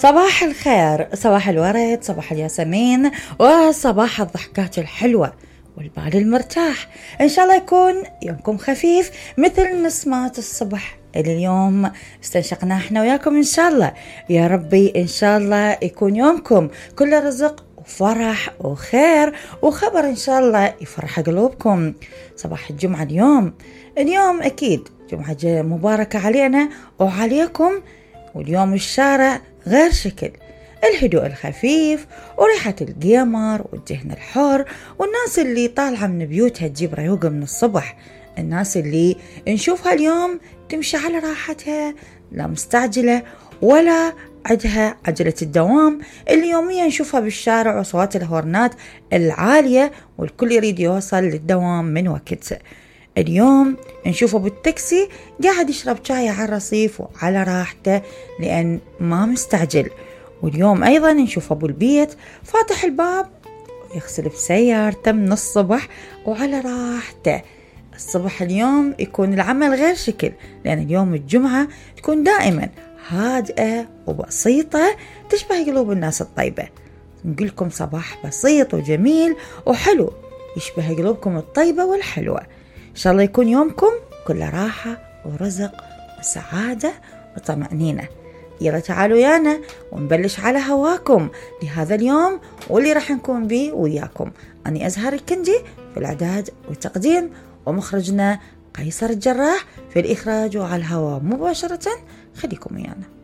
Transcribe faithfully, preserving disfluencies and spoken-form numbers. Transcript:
صباح الخير، صباح الورد، صباح الياسمين، وصباح الضحكات الحلوة والبال المرتاح. إن شاء الله يكون يومكم خفيف مثل نسمات الصبح اللي اليوم استنشقناه احنا وياكم. إن شاء الله يا ربي إن شاء الله يكون يومكم كل رزق وفرح وخير وخبر إن شاء الله يفرح قلوبكم. صباح الجمعة اليوم اليوم أكيد جمعة مباركة علينا وعليكم، واليوم الشارع غير شكل، الهدوء الخفيف وريحة القمر والدهن الحر، والناس اللي طالعة من بيوتها تجيب ريوقة من الصبح، الناس اللي نشوفها اليوم تمشي على راحتها، لا مستعجلة ولا عندها عجلة الدوام اللي يوميا نشوفها بالشارع وصوات الهورنات العالية والكل يريد يوصل للدوام من وقت. اليوم نشوفه بالتاكسي قاعد يشرب شاي على الرصيف وعلى راحته لأن ما مستعجل. واليوم أيضا نشوفه بالبيت فاتح الباب ويغسل بسيارته من الصبح وعلى راحته. الصبح اليوم يكون العمل غير شكل، لأن اليوم الجمعة تكون دائما هادئة وبسيطة تشبه قلوب الناس الطيبة. نقولكم صباح بسيط وجميل وحلو يشبه قلوبكم الطيبة والحلوة. إن شاء الله يكون يومكم كل راحة ورزق وسعادة وطمأنينة. يلا تعالوا يانا ونبلش على هواكم لهذا اليوم واللي راح نكون به وياكم. أنا أزهر الكندي في الإعداد والتقديم، ومخرجنا قيصر الجراح في الإخراج وعلى الهواء مباشرة. خليكم ويانا.